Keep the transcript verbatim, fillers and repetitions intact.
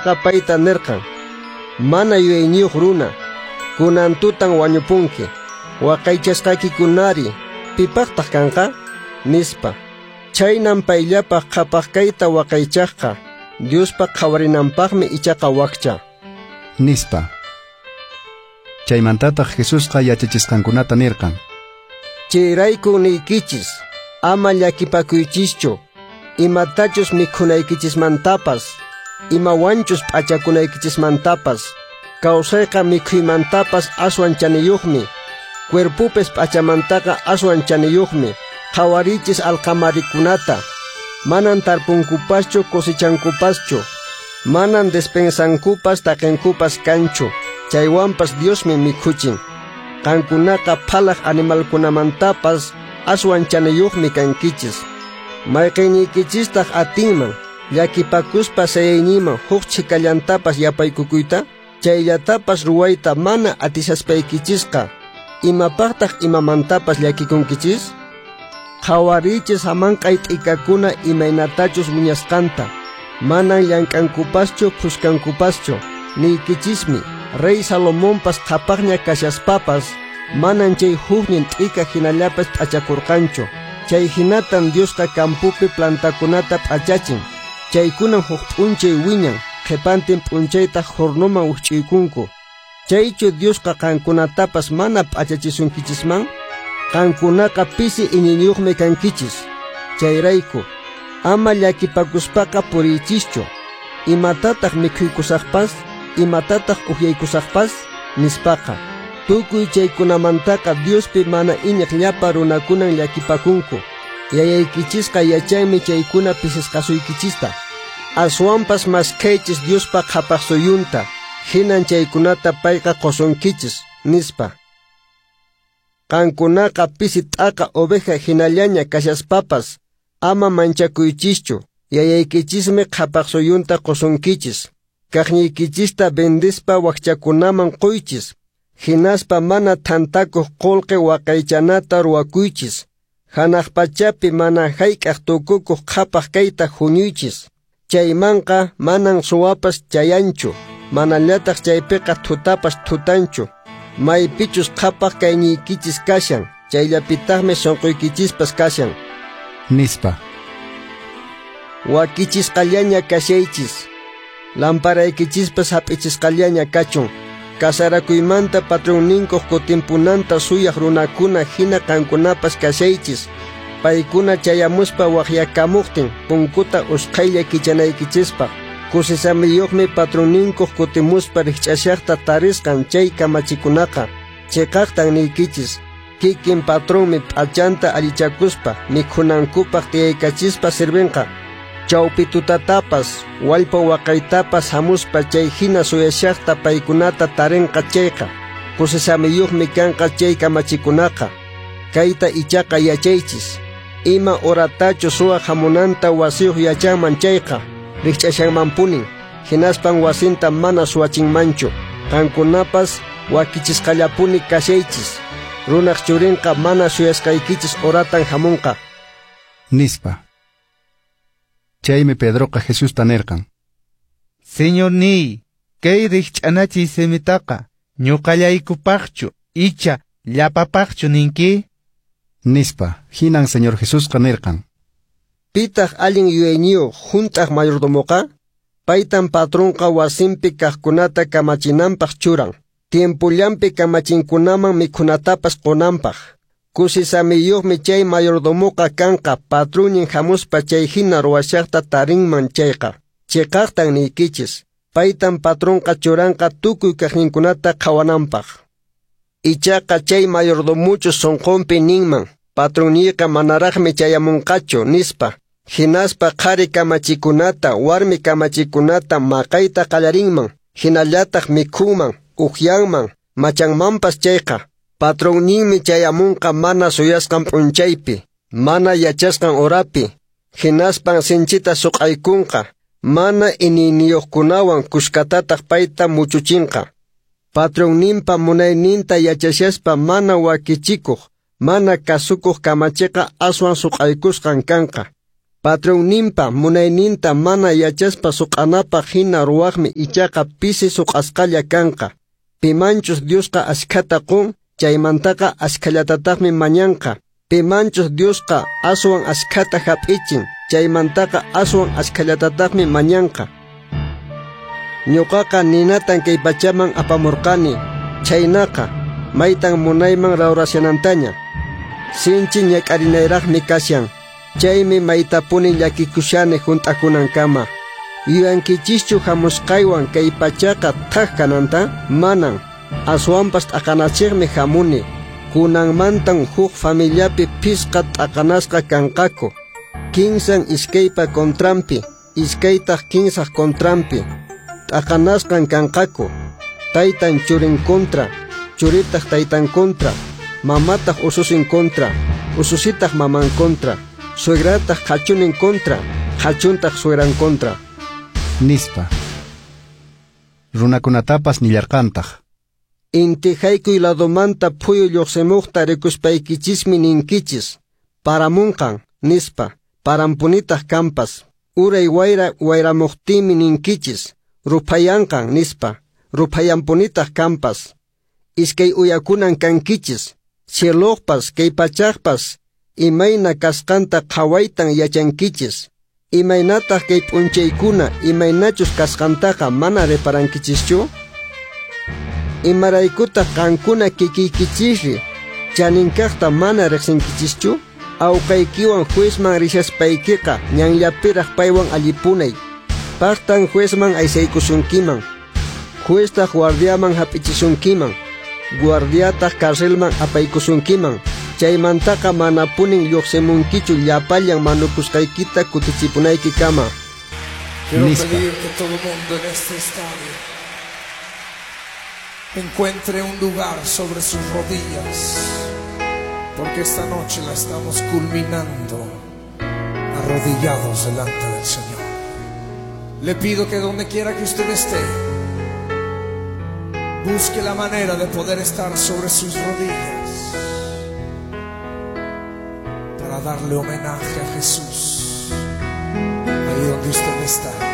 Patronqa payta nirqan: Mana yuyayniyuq runa, kunan tutan wañupunki. Waqaychasqaykikunari, pipaqtaq kanqa? Nispa. Chhaynam payllapaq qhapaq kayta waqaychaqqa, Diospa qhawarinanpaqmi ichaqa wakcha. Nispa. Chaymantataq Jesusqa yachachisqankunata nirqan: Chayrayku niykichis, ama llakipakuychischu, imatachus mikhunaykichismantapas, imawanchus p'achakunaykichismantapas. Kawsayqa mikhuymantapas aswan chaniyuqmi, cuerpopis p'achamantaqa aswan chaniyuqmi. Qhawarichis alqamarikunata, manan tarpunkupaschu cosechankupaschu, manan despensankupas taqenkupas kanchu, chaywanpas Diosmi mikhuchin. Qankunaqa phalaq animalkunamantapas aswan chaniyuqmi kankichis. Mayqiniykichistaq atinman llakipakuspa sayayninman huk chhikallantapas yapaykukuyta? Chayllatapas ruwayta mana atisaspaykichisqa, imapaqtaq imamantapas llakikunkichis? Qhawarichis hamanq'ay t'ikakuna imaynatachus wiñasqanta, manan llank'ankupaschu phuskankupaschu. Niykichismi, rey Salomonpas qhapaqña kashaspapas, manan chay huknin t'ika hinallapas p'achakurqanchu. Chay hinatan Diosqa campopi plantakunata p'achachin. Chaykunan huk p'unchay wiñan, qhipantin p'unchaytaq hornoman wikch'uykunku. Chaychu Diosqa qankunatapas mana p'achachisunkichisman? Qankunaqa pisi iñiyniyuqmi kankichis. Chayrayku, ama llakipakuspaqa puriychischu. Imatataq mikhuykusaqpas, imatataq uhyaykusaqpas, nispaqa. Tukuy chaykunamantaqa Diospi mana iñiq llapa runakunan llakipakunku. Yayaykichisqa yachanmi chaykuna pisisqasuykichista. Aswanpas maskhaychis Diospa qhapaq suyunta, hinan chaykunata payqa qusunkichis, nispa. Qankunaqa pisi t'aqa oveja hinallaña kashaspapas, ama manchakuychischu, yayaykichismi qhapaq suyunta qusunkichis. Kaqniykichista vendispa wakchakunaman quychis, hinaspa mana thantakuq qullqi waqaychanata ruwakuychis. Hanaq pachapi mana hayk'aq tukukuq qhapaq kayta huñuychis. Chaymanqa manan suwapas chayanchu, manallataq chaypiqa thutapas thutanchu. Maypichus qhapaq kayniykichis kashan, chayllapitaqmi sunquykichispas kashan. Nispa. Wakichisqallaña kashaychis, lamparaykichispas hap'ichisqallaña kachun. Kasarakuymanta patronninkuq kutimpunanta suyaq runakuna hina qankunapas kashaychis. Paykuna chayamuspa waqyakamuqtin punkuta usqhaylla kichanaykichispaq. Kusisamiyuqmi patronninkuq kutimuspa rikch'ashaqta tarisqan chay kamachikunaqa. Chiqaqtan niykichis, kikin patronmi p'achanta allichakuspa mikhunankupaq tiyaykachispa sirvinqa. Chawpi tutatapas, wallpa waqaytapas hamuspa chay hina suyashaqta paykunata tarinqa chayqa, kusisamiyuqmi kanqa chay kamachikunaqa. Kayta ichaqa yachaychis, ima horatachu suwa hamunanta wasiyuq yachanman chayqa, rikch'ashanmanpunin, hinaspan wasinta mana suwachinmanchu. Qankunapas wakichisqallapuni kashaychis, runaq churinqa mana suyasqaykichis horatan hamunqa. Nispa. Chaymi Pedroqa Jesusta nirqan: Señorniy, kay rikch'anachiy simitaqa ñuqallaykupaqchu icha llapapaqchu ninki? Nispa. Hinan Señor Jesusqa nirqan: Pitaq allin yuyayniyuq hunt'aq mayordomoqa? Paytan patronqa wasinpi kaqkunata kamachinanpaq churan, tiempullanpi kamachinkunaman mikhunatapas qunanpaq. Kusisamiyuqmi chay mayordomoqa kanqa patronnin hamuspa chay hina ruwashaqta tarinman chayqa. Chiqaqtan niykichis, paytan patronqa churanqa tukuy kaqninkunata qhawananpaq. Ichaqa chay mayordomuchu sunqunpi ninman, patronniyqa manaraqmi chayamunqachu, nispa. Hinaspa qhari kamachikunata, warmi kamachikunata maqayta qallarinman, hinallataq mikhunman, uhyanman, machanmanpas chayqa. Patronninmi chayamunqa mana suyasqan p'unchaypi, mana yachasqan horapi, hinaspan sinchita suq'aykunqa, mana iñiyniyuqkunawan kuskatataq payta muchuchinqa. Patronninpa munayninta yachashaspa mana wakichikuq, mana kasukuq kamachiqa aswan suq'aykusqan kanqa. Patronninpa munayninta mana yachaspa suq'anapaq hina ruwaqmi ichaqa pisi suq'asqalla kanqa. Pimanchus Diosqa askhata qun, chaymantaqa askhallatataqmi mañanqa. Pimanchus Diosqa aswan askhata hap'ichin, chaymantaqa aswan askhallatataqmi mañanqa. Ñuqaqa ninatan kay pachaman apamurqani, chaynaqa maytan munayman rawrashanantaña. Sinchi ñak'arinayraqmi kashan, chaymi maytapuni llakikushani hunt'akunankama. Yuyankichischu hamusqaywan kay pachaqa thak kananta? Manan, aswanpas t'aqanachiqmi hamuni. Kunanmantan huk familiapi phisqa t'aqanasqa kanqaku. Kinsan iskaypa contranpi, iskaytaq kinsaq contranpi. T'aqanasqan kanqaku. Taytan churin contra, churitaq taytan contra, mamataq ususin contra, ususitaq maman contra, suegrataq qhachunin contra, qhachuntaq suegran contra. Nispa. Runakunatapas nillarqantaq. Inti haykuy ladomanta phuyu lluqsimuqta rikuspaykichismi ninkichis, paramunqan, nispa, parampunitaq kanpas. Uray wayra wayramuqtinmi ninkichis, ruphayanqan, nispa, ruphayanpunitaq kanpas. Iskay uyakunan kankichis, cieloqpas kay pachaqpas imayna kasqanta qhawaytan yachankichis. Imaynataq kay p'unchaykuna imaynachus kasqantaqa mana reparankichischu? Imaraykutaq qankuna kikiykichisri chaninkaqta mana riqsinkichischu? Awqaykiwan juezman rishaspaykiqa ñanllapiraq paywan allipunay. Paqtan juezman aysaykusunkiman. Jueztaq guardiaman hap'ichisunkiman. Guardiataq carcelman apaykusunkiman. Chaymantaqa manapunin lluqsimunkichu llapallan manukusqaykita kutichipunaykikama. Quiero Nispa. pedir que todo mundo en este estadio encuentre un lugar sobre sus rodillas, porque esta noche la estamos culminando arrodillados delante del Señor. Le pido que donde quiera que usted esté, busque la manera de poder estar sobre sus rodillas para darle homenaje a Jesús ahí donde usted está.